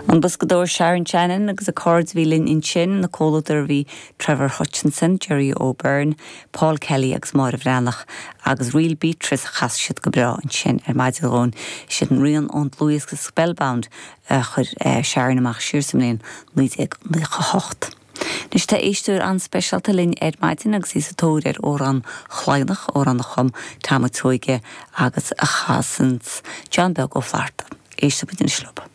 An boscadóir Sharon Shannon agus a cairde a bhí linn ansin, ina comhluadar a bhí Trevor Hutchinson, Gerry O'Beirne, Paul Kelly agus Máire Bhreathnach agus Ríl Beatrice a chas siad go breá ansin ar maidin dhúinn. Sin rian ón dlúthdhiosca Spellbound a chuir Sharon amach siar sa mbliain 1998. Anois tá éisteoir an-speisialta linn ar maidin agus í sa tóir ar Amhrán Chladhnach, amhrán a chum Tom Ó Tuathaigh agus a chasanns John Beag Ó Flatharta. Éistfidh muid anois leo.